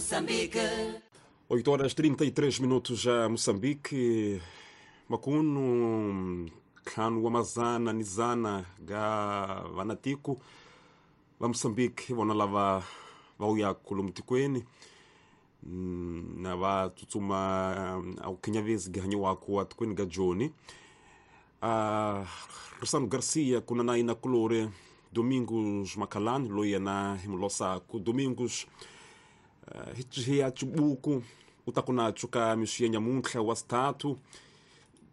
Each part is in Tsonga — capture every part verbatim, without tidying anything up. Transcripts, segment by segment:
Moçambique. oito horas trinta e três minutos já Moçambique. Makuno, Kanu, Amazana, Nizana, ga Vanatico, va Moçambique, vona lava va uya kulumtikweni na va tsutsuma au kinyavezi gihanyiwako atikweni ga Joni. Uh, Rosano Garcia kuna na ina kulore Domingos Macalani loyi yena hi mulosaku Domingos uh, hi ya chibuku u ta ku na tshuka mixi ya nyamuntlha wa sithathu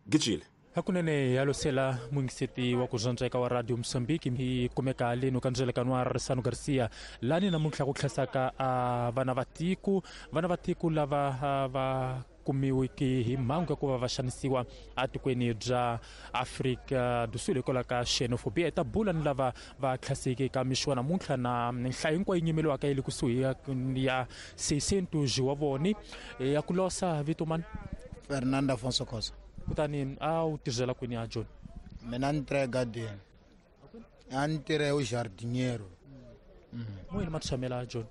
gijile hakunene ya losela mwingiseti wa ku zwandzeka wa Radio Mozambique hi kumeka leno ka ndzelekano wa Rosano Garcia lani namuntlha ku tlhasaka a vana va tiko vana va tiko lava va kumiwiki hi mhangu ya ku va va xanisiwa atikweni bya Afrika do Sul hikwalaho ka xenophobia. Hi ta bula ni lava va tlhaseke ka mixo wa namuntlha na nhlayo hinkwayo yi nyimeliwaka yi le kusuhi ya seishentos wa voni ya ku losa vito mani Fernando Afonso Cosa. Kutani a wu tirhela kwini ya John? Mina ni tirha egadeni, a ni tirha u jardinheiro. Moyeni ma tshamela John?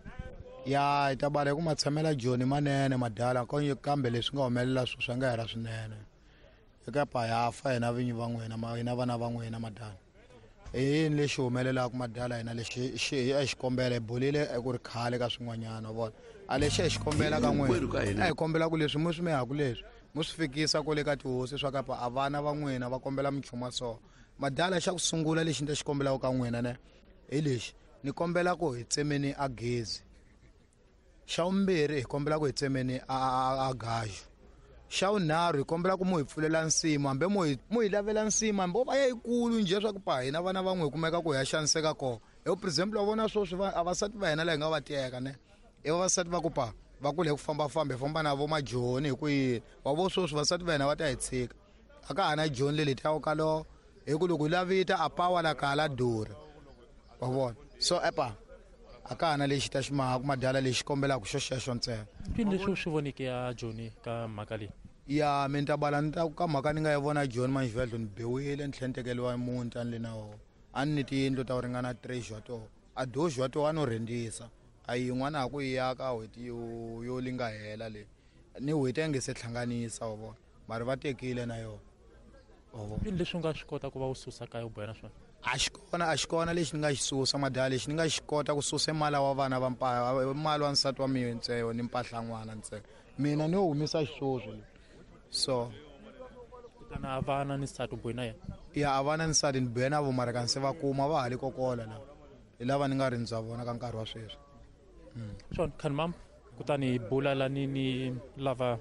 Ya hi ta bala hi ku ma tshamela John manene madala kambe leswi nga humelela swo swi nga hela swinene eka pa ya fa hina vinyi va n'wina hina vana va n'wina madala. I yini lexi humelelaka madala hina lexi xi a xi kombela hi bolile ku ri khale ka swin'wanyana vona a lexi hi xi kombela ka n'wina a hi kombela ku leswi mi swi mihaku leswi mi swi fikisa kwale ka tihosi swa kapa a vana va n'wina va kombela minchumu wa so madala. Xa ku sungula lexi ni ta xi kombelaka ka n'wina ne hi lexi ni kombela ku hi tsemeni a gezi. Xa vumbirhi hi kombela ku hi tsemeni a a gaju. Xa vunharhu hi kombela ku mu hi pfulela nsimu hambi mu hi mu hi lavela nsimu hambi va ya yikulu njhe swa ku pa hina vana van'we hi kumeka ku hi ya xaniseka kona. Hi for example wa vona sweswi vavasati va hina laha hi nga va teka ne i vavasati va ku pa va kule hi ku fambafamba hi famba na vo majoni hi ku yini wa vo sweswi vasati va hina va ta hi tshika a ka ha na joni leli ta ka lo hi ku loko hi lavita a pawa la kala durha wa vona so epa a ka ha na lexi ta xi mahaku madala lexi kombelaka xo xexo ntsena. Mpini leswi u swi voneke ya Joni ka mhaka leyi? Ya mi ni ta bala ni ta ka mhaka ni nga yi vona Joni manjivhedlo ni biwile ni tlhela ni tekeriwa muti a ni le na wona a ni ni tiyindlu ta ku ringana three wa toho a doxi wa toho a no rhendisa a yin'wana ha ku yi aka n'hweti yo yo li nga hela leyi ni n'hweti a nge se hlanganisa wa vona mara va tekile na yona wa vona. Mpini leswi u nga swi kota ku va u susa kaya u boha na swona? A xi kona a xi kona lexi ni nga xi susa madala lexi ni nga xi kota ku susa mali wa vana va mpa mali wa nsati wa mina ntsena ni mpahla n'wana ntsena mina ni yo humisa xisweswi so kutani a vana ni nsati u bohi na yena? Ya a vana ni nsati ni bohe na vo mara kanse va kuma va ha le kokola la hi lava ni nga rindza vona ka nkarhi wa sweswi. Swona khanimam kutani hi bula lani ni lava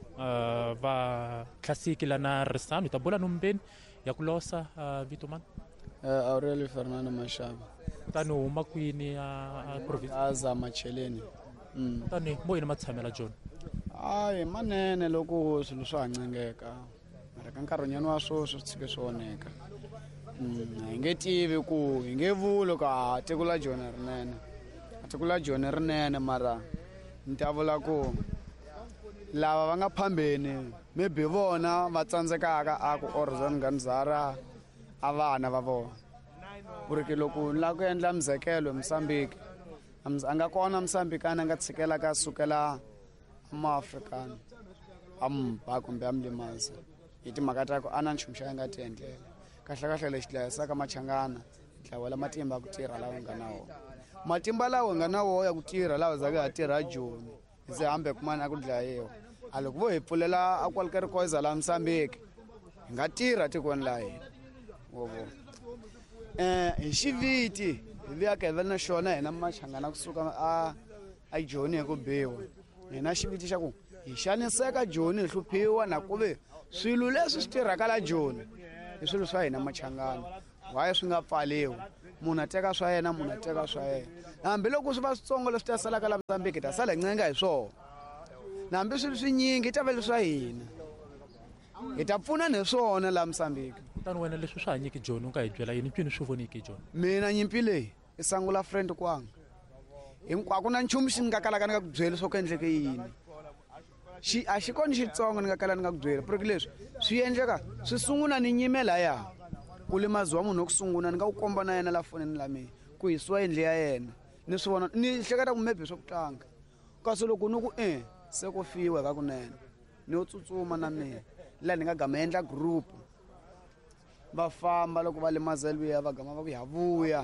va tlhasiki lana Risano hi ta bula nombeni ya ku losa vito mani? Uh, Aurelio Fernando Mashaba. Kutani u huma kwini a province? Aza Macheleni. Mm. Kutani mo yini ma tshamela John? Hayi manene loko swilo swa ha ncengeka mara ka nkarhinyana wa sweswi swi tshike swi onheka. Mm, hi nge tivi ku hi nge vuli ku a tiko la Joni rinene a tiko la Joni rinene mara ni ta vula ku lava va nga phambeni maybe vona va tsandzekaka a ku organizara a vana va vona ku ri ke loko ni lava ku endla muzekelo Mozambique a nga kona Mozambikana a nga tshikelaka a sukela maafrikana a mu ba kumbe a mu limaza hi timhaka ta ku a na nchumu xa a nga ti endlela. Kahlekahle lexi dlayisaka machangana ntlawa la matimba ya ku tirha lawa nga na wona matimba lawa nga na wona ya ku tirha lawa zaka ha tirha Joni hi ze hambe kumana a ku dlayiwa a loko vo hi pfulela a qualquer coisa la Mozambique hi nga tirha tikweni la hina wo vona. Eh hi xiviti hi vuyaka hi va na xona hina machangana kusuka a a Joni hi ku biwa hina xiviti xa ku hi xaniseka Joni hi hluphiwa na ku ve swilo leswi swi tirhaka la Joni i swilo swa hina machangana why swi nga pfaliwi munhu a teka swa yena munhu a teka swa yena hambiloko swi va switsongo leswi ta salaka la Mozambique ta sala hi ncenga hi swona na hambi swilo swinyingi ta va leswa hina hi ta pfuna ni swona la Mozambique. Kutani wena leswi swi hanyiki Joni u nga hi byela yini mpfini swi voniki Joni? Mina nyimpi leyi i sangula friend kwanga hinkwako na nchumu xi ni nga kalaka ni nga ku byeli swo ku endleke yini xi a xi kona xitsongo ni nga kala ni nga ku byeli porque leswi swi endleka swi sungula ni nyime laya ku limaziwa munhu wa ku sungula ni nga ku komba na yena la fonini la mina ku hisiwa yindlu ya yena ni swi vona ni hleketa ku maybe swa ku tlanga Kasi loko ni ku e se ku fiwa ka kunene ni yo tsutsuma na mina laha ni nga gama endla group va famba loko va limaza luya va gama va ku ya vuya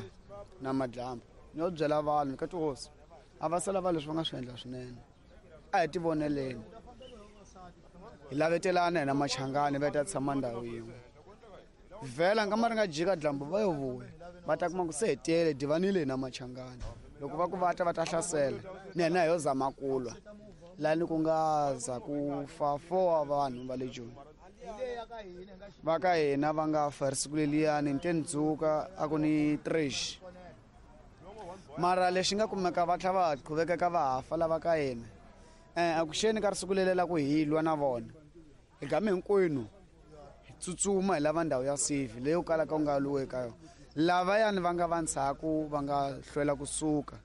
na madyambu ni yo byela vanhu ka tihosi a va sala va leswi va nga swi endla swinene a hi tivoneleni hi lavetelana hina machangani va ta tshama ndhawu yin'we vhela nga ma ri nga jika dyambu va yo vuya va ta kuma ku se hi tele divanile hina machangani loko va ku va ta va ta hlasela ni hina hi yo zama ku lwa lani ku nga za ku fa four wa vanhu va le Joni va ka hina va nga fa ri siku leliyani ni te ni dzuka a ku ni trash mara lexi nga kumeka va tlhela va qhuvekeka va ha fa lava ka hina um a ku xeni ka ri siku lele la ku hi lwa na vona hi game hinkwenu hi tsutsuma hi lava ndhawu ya safe leyi yo kalaka u nga lwiwi eka yona lavayani va nga va ndzhaku va nga hlwela kusuka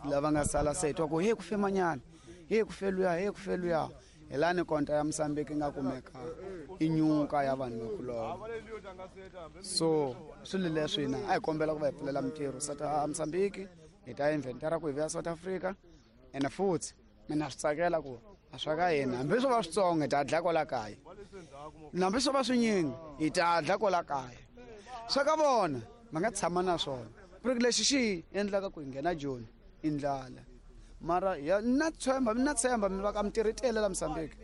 lava nga sala se hi twa ku he ku fe manyana he ku fe luya he ku fe luya hi lani konta ya Mozambique yi nga kumeka i nyuka ya vanhu va ku lova so swilo leswi hina a hi kombela ku va hi pfulela mintirho South Mozambique hi ta inventara ku hi vuya South Africa ene futhi mina swi tsakela ku a swa ka hina hambi swo va switsongo hi ta dlaya kwala kaya hambi swo va swinyingi hi ta dlaya kwala kaya swa ka vona va nga tshama na swona ku ri lexi xi endlaka ku hi nghena Joni i ndlala mara ya na tshemba na tshemba mi va ka mintirho yi tele la Mozambique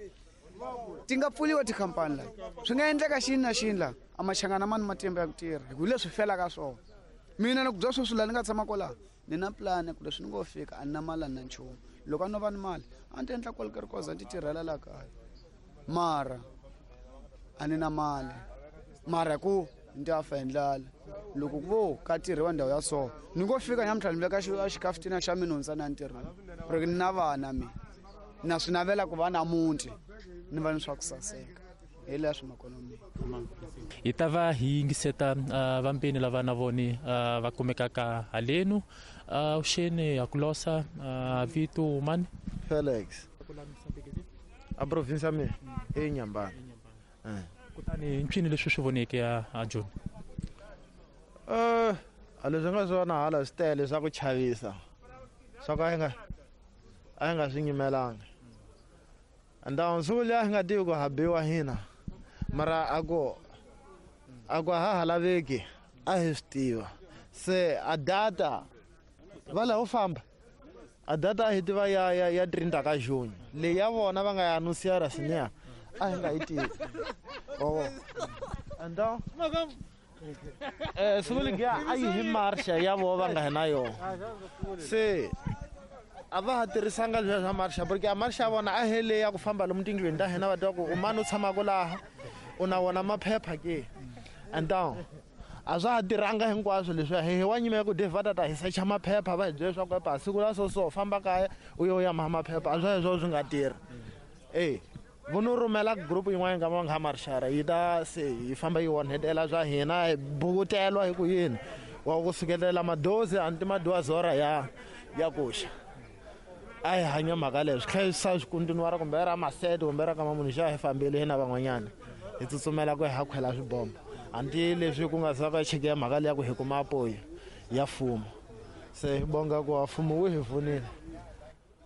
ti nga pfuriwa tikhampani la swi nga endleka xini na xini la a machangana ma ni matimba ya ku tirha hi ku leswi felaka swona mina ni ku bya sweswi laha ni nga tshama kwalaho ni na plan ku leswi ni ngo fika a ni na mali a ni na nchumu loko a no va ni mali a ni ta endla kwalkerikoza ni ti tirhela laha kaya mara a ni na mali mara ku ni ta fa hi ndlala loko ku vo ka tirhiwa ndhawu ya so ni ngo fika namuntlha ni veka xikafutina xa mina hundza na ntirhweni ku ri ni na vana mina na swi navela ku va na muti ni va ni swa ku saseka hi leswi makonomi hi ta va hi yingiseta uh, vambeni lava na voni uh, va kumekaka halenu uh, uxeni ya kulosa uh, vito mani Felix a province ya mina i Nyambani kutani ncini leswi swi voneke ya a Joni eh a leswi nga swona hala swi tele swa ku chavisa swa ka hi nga a hi nga swi nyimelanga and siku liya hi nga tivi ku ha biwa hina mara a ku a ku ha ha laveki a hi swi tiva se a data va laha u famba a data a hi tiva ya ya ya trinta ka June leyi ya vona va nga ya anusiara sineya a hi nga yi tivi oh and eh siku liya a yi hi marsha ya vona va nga hi na yona se a va ha tirhisanga leswiya swa marsha porque a marsha ya vona a hi leyi ya ku famba lomu tindlwini ta hina va tiva ku u mani u tshamaka laha u na wona maphepha ke and a swa ha tirhanga hinkwaswo leswiya hi wa nyima ya ku va ta ta hi secha maphepha va hi byela leswaku epa siku la so so famba kaya u yo ya maha maphepha a swa heswo swi nga tirhi e vo no rhumela group yin'wana nga va nga marshara yi ta se yi famba yi onhetela swa hina hi bukuteliwa hi ku yini wa ku sukelela madozi anti madoazora ya ya kuxa a hi hanya mhaka leyo swi tlhela swi swi kontinuwara kumbe ra masete kumbe ra kama munhu xa hi fambile hina van'wanyana hi tsutsumela ku hi ha khwela swibombo anti leswi ku nga za ka cheke ya mhaka leya ku hi kuma apoyi ya mfumo se hi bonga ku wa mfumo wu hi pfunile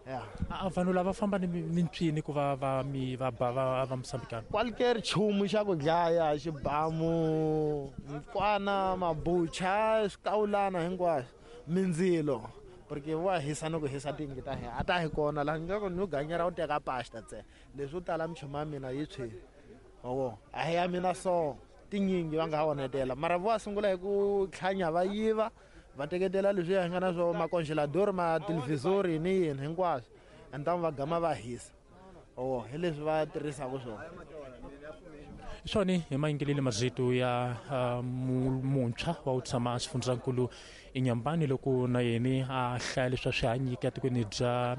ya a vanhu lava famba ni ni ncini ku va va mi va ba va va Mozambikana kwalike nchumu xa ku dlaya xibamu mikwana mabucha swikawulana hinkwaswo mindzilo porque wa hisa ni ku hisa tiyindlu ta hina a ta hi kona laha nga ku ni ganyera u teka pasta ntsena leswo tala minchumu ya mina yi tshwile wo a hi ya mina so tinyingi va nga ha onhetela mara vo sungula hi ku tlhanya va yiva va teketela leswi hi nga na swo makongelador mathelevhizori ni yini hinkwaswo and va gama va hisa o hi leswi va tirhisaka swona swona hi mayingeleli marito ya uh, muntshwa wa ku tshama xifundzankulu eNyambani loko na yena a hlaya leswi a swi hanyike etikweni bya